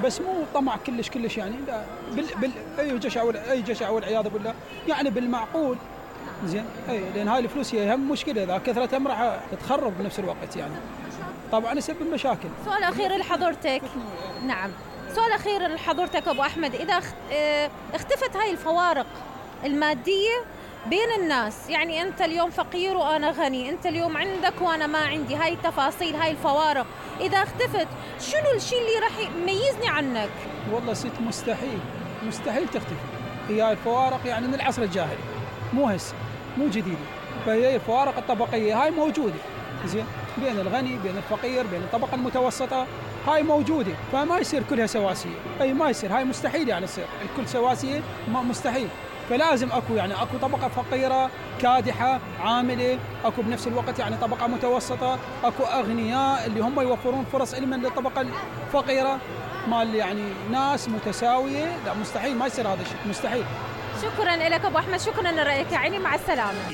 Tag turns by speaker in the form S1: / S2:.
S1: بس مو طمع كلش يعني، لا اي جشع والعياذ بالله، يعني بالمعقول. زين، اي لان هاي الفلوس هي هم مشكله، اذا كثرت هم راح تخرب بنفس الوقت يعني، طبعا يسبب مشاكل.
S2: سؤال اخير لحضرتك. نعم، سؤال اخير لحضرتك ابو احمد، اذا اختفت هاي الفوارق الماديه بين الناس، يعني انت اليوم فقير وانا غني، انت اليوم عندك وانا ما عندي، هاي التفاصيل، هاي الفوارق اذا اختفت، شنو الشيء اللي راح يميزني عنك؟
S1: والله ست مستحيل تختفي. هي الفوارق يعني من العصر الجاهلي، مو هسه، مو جديده. فهي الفوارق الطبقيه هاي موجوده، زين، بين الغني بين الفقير بين الطبقه المتوسطه، هاي موجوده. فما يصير كلها سواسيه، اي ما يصير، هاي مستحيل يعني تصير الكل سواسيه، مستحيل. فلازم اكو طبقه فقيره كادحه عامله، اكو بنفس الوقت يعني طبقه متوسطه، اكو اغنياء اللي هم يوفرون فرص علما للطبقه الفقيره، مال يعني ناس متساويه. لا مستحيل، ما يصير هذا الشيء، مستحيل.
S2: شكرا لك ابو احمد، شكرا لرايك، يعني مع السلامه.